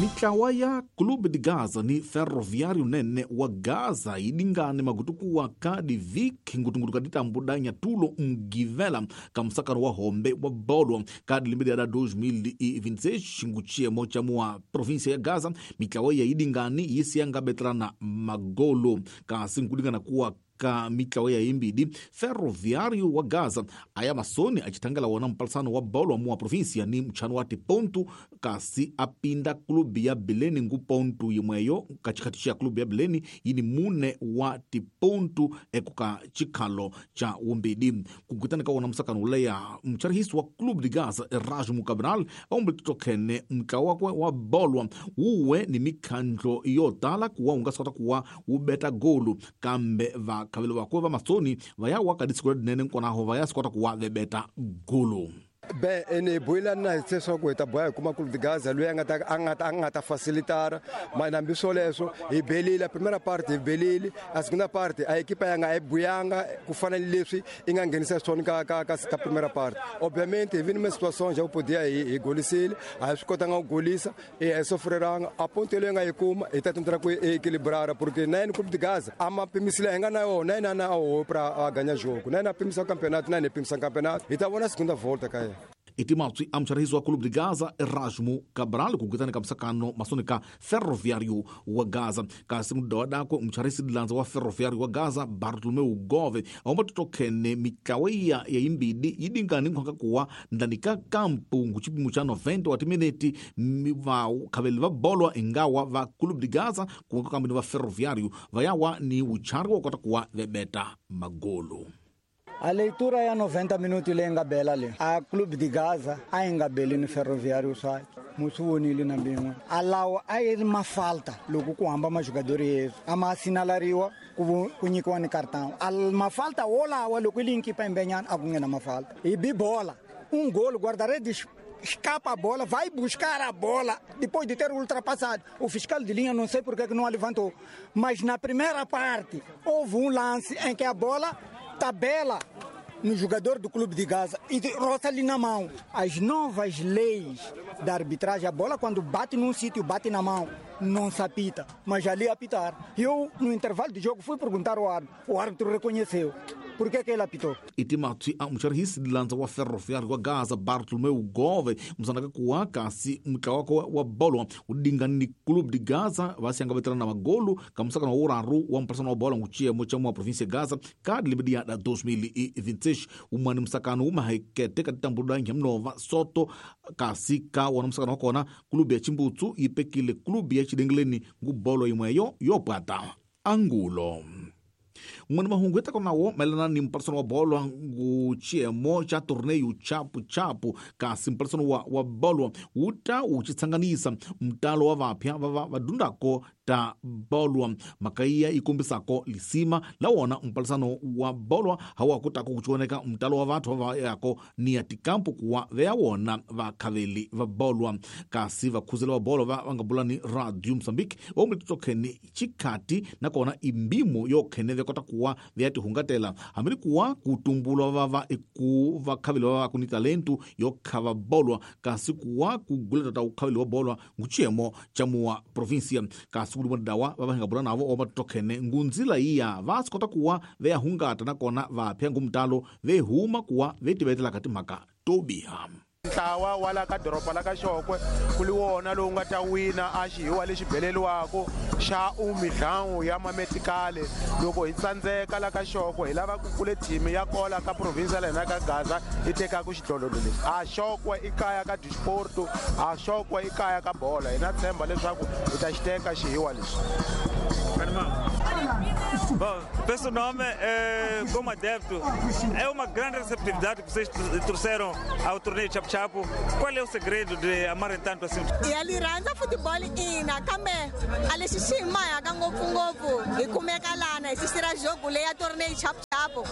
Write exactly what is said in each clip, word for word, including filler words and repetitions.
Mitlawa ya Clube de Gaza ni Ferroviário nene wa Gaza idingane magutukuwa kadi viki ngutungutu kaditambudanya tulo mgivela kamsakano wa hombe wa bolwa kadi limbe da dois mil e vinte e seis nguchiemo cha mua província ya Gaza. Mitlawa ya idingani yisianga betrana magolo kasi nkudingana kuwa ka mitlawa ya imbidi Ferroviário wa Gaza aya masoni achitangala wona mpalisano wa bolo mua província ni mchano wa tipontu kasi apinda klubi ya Beleni ngu pontu imweyo kachikati cha klubi ya Beleni yini mune wa tipontu ekuka chikalo cha umbidi kukutana ka wona msakano uleya mcharihisi wa Clube de Gaza Erasmo Cabral ombe tutokene mtlawa wakwe wa bolwa uwe ni mikhandlo yotala kuwa ungasota kuwa ubeta golu kambe va kavelo vakwe va masoni vaya wakadisikola dinene nkonaho vaya sikota kuwa vebeta golu. Bem, ene boila na leswaku hi ta boha hi kuma Clube de Gaza loyi a nga ta a nga ta a nga ta facilitara mas hambi swoleswo hi belile a primera parte hi belile a segunda parte a equipa ya nga a yi buyanga ku fana ni leswi i nga nghenisa swona ka ka ka ka primera parte. Obviamente hi vini situação já podia hi hi golisile a hi swi kotanga ku golisa e a hi sofreranga a ponto leyi nga yi kuma hi ta tentar ku equilibrar porque na yena Clube de Gaza a ma pimisile hi nga na yona na yena na o pra a ganhar jogo na yena a pimisa campeonato na yena pimisa campeonato hi ta vona segunda volta ka yena. Itimatswi amcharihisi wa Clube de Gaza Erasmo Cabral kukutana kamsakano masoni ka Ferroviário wa Gaza kasi mudawa dakwe mcharihisi dilanza wa Ferroviário wa Gaza Bartolomeu Gove aomba tutokene mitlawa ya imbidi yidingani nkhwaka kuwa ndani ka kampu nguchipimo cha noventa wa timineti va khaveli va bolwa ingawa va Clube de Gaza kuwaka kambini va Ferroviário vayawa ni uchari wa kota kuwa vebeta magolo. A leitura é a noventa minutos le nga bela le. A Clube de Gaza a nga beli no Ferroviário sai. Musuwonile na bingwe. A lawo a ri mafalta loko ku hamba majogador yesu. A ma sinalariwa ku ku nyikiwa ni cartão. A mafalta wolawa loko linki pa imbenyana a ku nghena mafalta. E bi bola. Um gol guarda-redes escapa a bola, vai buscar a bola depois de ter ultrapassado. O fiscal de linha não sei por que que não a levantou. Mas na primeira parte houve um lance em que a bola tabela no jogador do Clube de Gaza e roça ali na mão. As novas leis da arbitragem, a bola quando bate num sítio, bate na mão, não se apita, mas ali apitar. Eu, no intervalo de jogo, fui perguntar ao árbitro. O árbitro reconheceu. Por que que ele apitou? Itimatswi a mcharihisi dilanza wa Ferroviário wa Gaza Bartolomeu Gove msanaka kuwa kasi mtlawa wa bolwa udingani ni Clube de Gaza vasianga veterana na magolu kamsakano wa uraru wa mpasano wa bola nguchiemo cha mwa província Gaza kadi limbe dia da dois mil e vinte e seis umani msakano umahekete katitambuda nhamnova soto kasi ka wana msakano wakona klubi ya Chimbutsu ipekile klubi ya Chidengeleni ngubolo imweyo yopata angulo. Mwana mahungu eta kona wo melana ni mparsano wa bolwa nguchiemo cha torneio chapu chapu kasi mparsano wa, wa bolwa uta uchitsanganisa mtalo wa vapya vava vadundako ta bolwa makaiya ikumbisako lisima lawona mparsano wa bolwa hawa kutako kuchioneka mtalo wa vathu vava yako ni atikampu kuwa veawona vakhaveli va bolwa kasi vakhuzela wa bolwa va vangabula ni Radio Mozambique omlitotokeni chikhati nakona imbimo yokhene vekota kuwa vyatihungatela hambi kuwa kutumbulwa vava eku vakhaveli vava kuni talentu yokhava bolwa kasi kuwa kuguleta ta ukhaveli wa bolwa nguchiemo cha mua província kasi kulimwa dawa vavahingabula navo omatokhene ngunzila iya vasikota kuwa veyahungata nakona vapya ngumtalo vehuma kuwa vetivetela kati mhaka tobiha. Ntlawa wa la ka doroba la ka Xokwe ku li wona lowu nga ta wina a xihiwa lexi beleliwaka xa umidlangu ya mametikale loko hi tsandzeka la ka Xokwe hi lava ku kule team ya kola ka province la hina ka Gaza yi tekaka xidlodlo lexi a Xokwe i kaya ka disporto a Xokwe i kaya ka bola hi na tshemba leswaku hi ta xi teka xihiwa lexi. Bom, penso nome, é, como adepto, é uma grande receptividade que vocês trouxeram ao torneio Chapu Chapu. Qual é o segredo de amarem tanto assim? E ali randza futebol ina kambe a lexi xi hi mahaka ngopfungopfu hi kumeka lana hi sisira jogo leyi ya torneio Chapu Chapu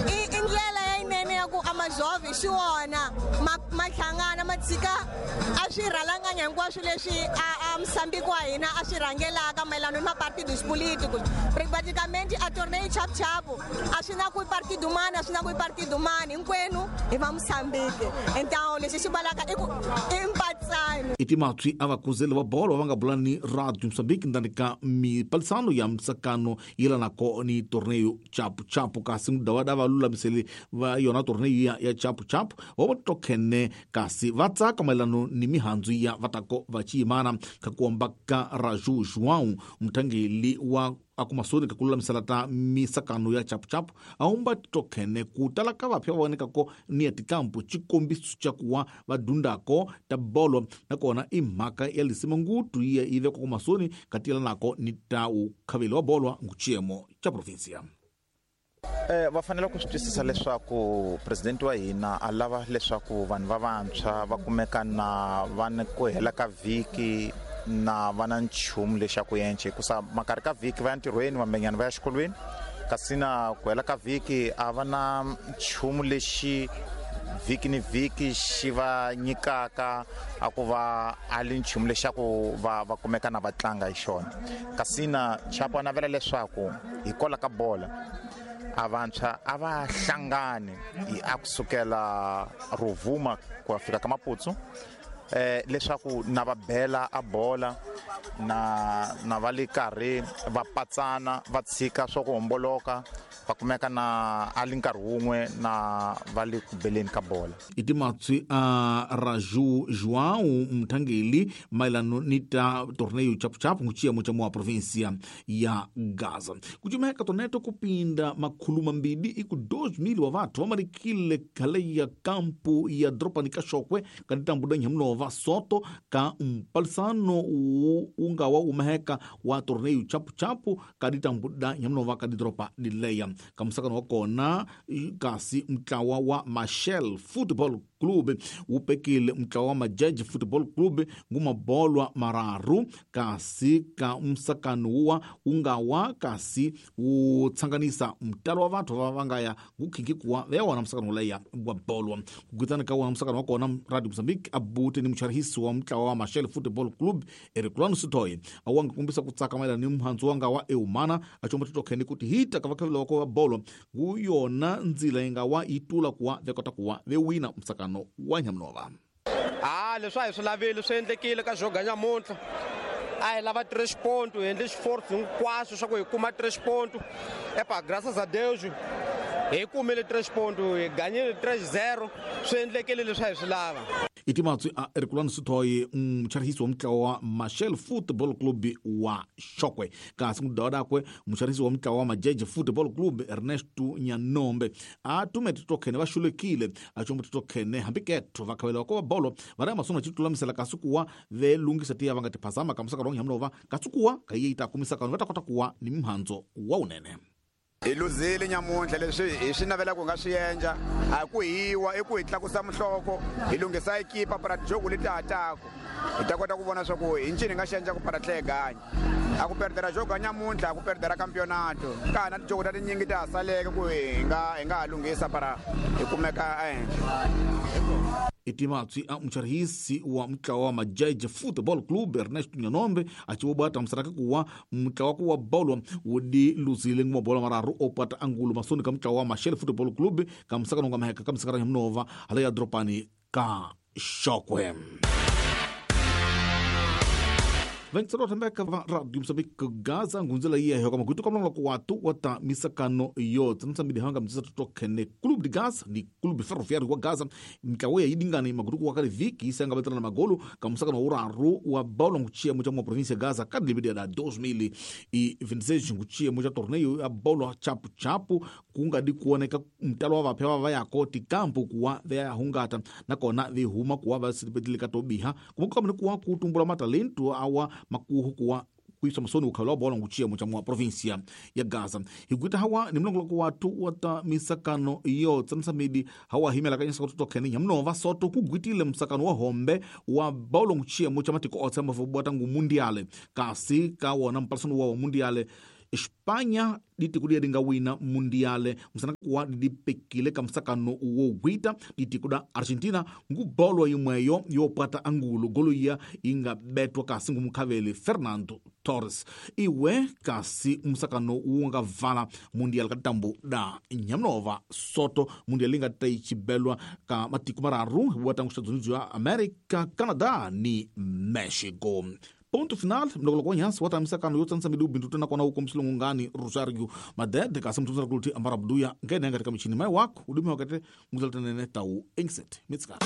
i i ndlela yinene ya ku a majovhi xi wona ma ma hlangana ma tshika a swi rhalanganya hinkwaswo leswi a a Moçambique wa hina a swi rhangelaka mayelana ni mapartidos políticos. Praticamente a torneio chapu-chapu a swi na ku i partido mani, a swi na ku i partido mani, hinkwenu hi va Moçambique. Então lexi xi valaka i ku i mpatsano. I timatswi a vakuzeli va bolo va nga bula ni Radio Moçambique ndani ka mipalisano ya msakano yelanako ni torneio chapu-chapu kasi mudavada va lulamiseli va yona torneio ya, ya chapu-chapu va va tokhene kasi va tsaka mayelano ni mihandzu ya vatako va chiyimana ka kuomba ka Raju João mutangeli wa akumasoni ka kululamisela ta misakano ya chapu-chapu aumba tokhene ku tala ka vapya va vonekako ni ya tikampu xikombiso xa kuwa va dundako ta bolo nakona i mhaka ya lisima ngutu yi yi vekwa kumasoni ka tiyelanako ni ta ukhaveli wa bolo nguchiyemo xa provinsia. Eh va fanele ku swi twisisa leswaku president wa hina a lava leswaku vanhu va vantshwa va kumeka na va ni ku hela ka vhiki na va na nchumu lexaku yenche hikusa makarhi ka vhiki va ya ntirhweni vambenyana va ya xikolweni kasi na ku hela ka vhiki a va na nchumu lexi vhiki ni vhiki xi va nyikaka a ku va a li nchumu lexaku va va kumeka na va tlanga hi xona kasi na Chapo a navela leswaku hi kola ka bola a vantshwa a va hlangani a kusukela Rovuma ku ya fika ka Maputsu eh leswaku na va bela a bola na na va le karhi va patsana va tshika swa ku homboloka va kumeka na a li nkarhi wun'we na va le ku beleni ka bola. I timatswi a Raju João mutangeli mayelano ni ta torneio chapu-chapu nguchiyemo cha mua provinsia ya Gaza. Kuchimeka torneto kupinda makhulu mambili iku dois mil wa vathu va marikile khale ya kampu ya dropani ka Xokwe ka ditambuda nhamnova soto ka mpalisano wu nga wa umeheka wa torneio chapu-chapu ka ditambuda nhamnova ka didropa dileya ka musakano wa kona kasi mutlawa wa Machel Football Club wu pekile mutlawa wa Majeje Football Club ngumabolwa mararu kasi ka musakano wa wu nga wa kasi wu tsanganisa mutalo wa vathu va va nga ya ngukhingi kuwa va ya wona musakano wuleya wa bolwa kugwitana ka wona musakano wa kona Radio Mozambique abute ni mucharihisi wa mutlawa wa Machel Football Club Ericulano Sitoye a wa nga kombisa ku tsaka mayelana ni muhandzu wa nga wa eumana a comba titokhene kuti hita ka vakhaveli wa ko va bolo ngu yona ndzila yi nga wa yi tula kuwa ve kota kuwa ve wina musakano wa nyamunova. Ah leswi a hi swi laveli swi endlekile ka joga nyamuntlha a hi lava três pontos hi endle xiforce hinkwaswo swa ku hi kuma três pontos epa graças a Deus hi kumile três pontos hi ganyile três zero swi endlekile leswi a hi swi lava. I timatswi a Ericulano Sitoye mucharihisi wa mutlawa wa Machel Football Club wa Xokwe kasi mudawudakwe mucharihisi wa mutlawa wa Majeje Football Club Ernesto Nyanombe a tume titokhene va xulekile a combo titokhene hambi ketho va khavela ko va bolo va ri masonga xitulamisela kasi kuwa ve lungisa tiya va nga tiphazama ka musakano wa nhamnova kasi kuwa ka yi ta kumisakano va ta kota kuwa ni mihandzu wa unene. Hi luzile nyamuntlha leswi hi swi navelaka ku nga swi endla a ku hiwa i ku hi tlakusa muhloko hi lunghisa ekipa para tijogo leti ha taku hi ta kota ku vona swa ku hi ncini hi nga xi endla ku para tlhe hi ganya a ku perdera jogo nyamuntlha a ku perdera campeonato ka ha na tijogo ta tinyingi ta ha saleke ku hi nga hi nga ha lunghisa para hi kumeka ehenhla. I timatswi a mucharihisi wa mutlawa wa Majeje Football Club Ernesto Nyanombe a ci vobata musaraka kuwa mutlawa ku wa bolo wu di luzile ngumabolo mararu opata angulo masoni ka mutlawa wa Machel Football Club ka musakano nga maheka ka musakano nyamunova hala ya dropani ka Xokwe. Ventsero thembeka va Radio Mozambique Gaza ngunzela yiya hyoka magutu kamlonga ku watu wata misakano yo tsamtsambidi hanga mtsisa tokhene Clube de Gaza ni Clube Ferroviário wa Gaza mtlawo ya yidingani magutu ku wakali viki isanga betana na magolu ka musakano uraru wa bolo nguchia mucha mwa província Gaza kadli da dois mil e vinte e seis nguchia mucha torneio ya bolo chapu chapu kungadi kuoneka mtalo wa vapya va ya koti kampu kuwa veya hungata nakona vihuma kuwa vasipetile tobiha kumukamne kuwa kutumbula matalento awa makuhu kuwa kuisa masoni ukhala bola nguchia mucha mwa província ya Gaza higuita hawa ni mlongo wa watu wata misakano iyo tsamsamidi hawa himela kanyisa kutoka Kenya mnova soto kugwitile msakano wa hombe wa bola nguchia mucha matiko otsa mavobwata ngu mundiale kasi ka wona mpasano wa mundiale Espanha ditiko liya dinga wina mundiale musana kuwa didipekile ka musakano wo gwita ditiko da Argentina ngu bolo imweyo yopata angulo golo iya inga betwa kasi ngu mukhaveli Fernando Torres iwe kasi musakano wunga vala mundial ka tambu da Nyamnova Soto mundial inga taichibelwa ka matiko mararu wa tangu Estados Unidos ya America, Canada ni Mexico. Ponto final, mlokolo kwa nyansi, wata misakano yote nsa midu bintu tena kwa na huko msilungu ngani Rosario Madede, kasi mtumsa kuluti ambara buduya, ngene katika michini mai wako, udumi wakate, muzaltenene tau engset. Mitskara.